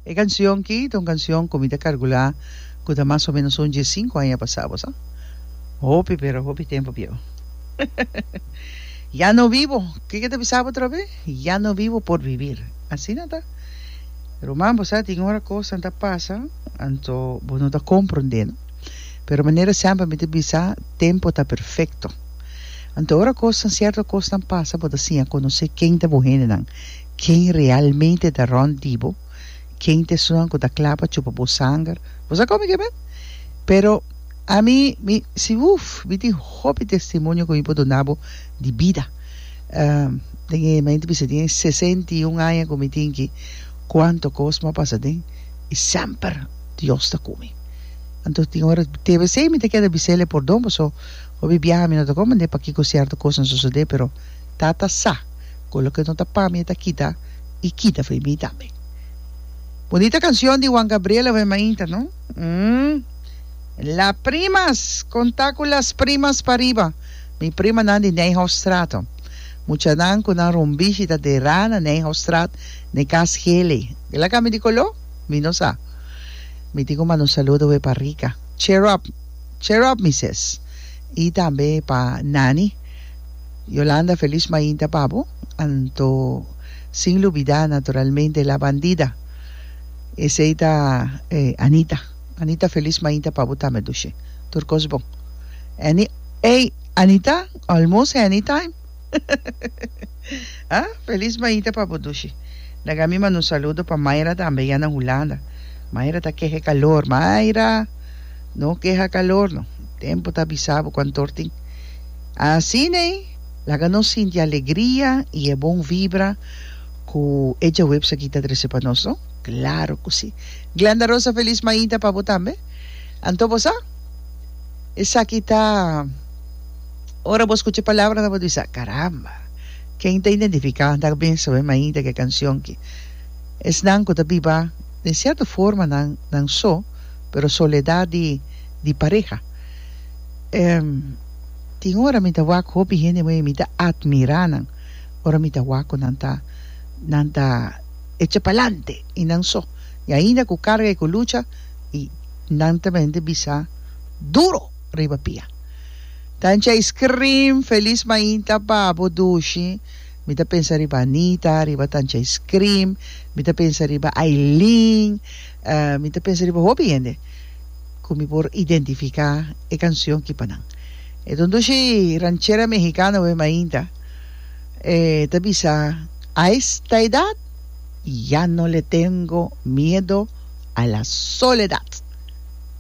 E canción ki ta un canción cu mi ta calcula cu ta mas o menos un diescinco aña pasa, bo sa? Hopi pero hopi tempo bieu. Ya no vivo, kiko ta bisa bo atrobe? Ya no vivo por vivir. Asina ta. Ruman, bo sa tin ora cosnan ta pasa anto bo no ta comprende no. Pero manera semper mi ta bisa tempo ta perfecto. Anto ora cosnan, cierto cosnan pasa bo ta siña conoce ken ta bo hendenan. Ken realmente ta rond di bo, ken ta esunnan ku ta kla pa chupa bo sanger. Bo sa komo ke men? Pero ami, mi si uf, mi tin hopi testimonio ku mi por duna bo di bida. Den e, mi ta bisa den e 61 aña ku mi tin ki, kuantu kos mi a pasa den i semper Dios ta ku mi. Anto tin ora te besei mi ta keda bis'el e pordon paso hopi biaha mi no ta komprende pakiko sierto kosnan sosode pero Tata sa. Ku loke no ta pa mi e ta kita i kita fo'i mi tambe. Bunita cancion di Juan Gabriel awe mainta no? Umm. La primas! Conta cu las primas pariba. Mi primanan di Nijhoffstraat. Muchanan cu nan rumbishi ta derá na Nijhoffstraat n'e cas gele. El a cambia di color? Mi no sa. Mi tin cu manda un saludo awe pa Rica. Cheer up! Cheer up mi sis. I tambe pa Nani. Yolanda felis mainta pa bo, anto sin lubida naturalmente la bandida, esey ta Anita, Anita felis mainta pa bo tambe dushi, tur cos bon. Any ey Anita almost anytime ah felis mainta pa bo dushi. Laga mi manda un saludo pa Mayra tambe ya na Hulanda, Mayra ta keha e calor, Mayra no keha calor no, tempo ta bisa bo cuantor tin. Asina laga nos sinti alegria i e bon vibra ku e djaweps aki ta trese pa nos, no? Klaro ku si! Glenda Rosa felis mainta pa bo tambe. Anto bo sa? Esaki ta ora bo skucha e palabranan bo ta bisa, Karamba! Ken ta identifiká ta mester e mainta ku e kanshon aki? Esnan ku ta biba den sierto forma nan nan so, pero soledat di di pareha. Tin ora mi ta wak hopi hende moe mi ta admira nan ora mi ta wak ku nan ta nan ta echa palante i nan so i ainda ku karga i ku lucha i nan ta mente bisa duro riba pia. Tanchi ice cream felis mainta pa bo dushi mi ta pensa riba Anita riba Tanchi ice cream mi ta pensa riba Aileen mi ta pensa riba hopi hende. Ku mi por identifiká e kansion ki pa nan. E ta un dushi ranchera mexicano we mainta. E ta bisa, A esta edad ya no le tengo miedo a la soledad.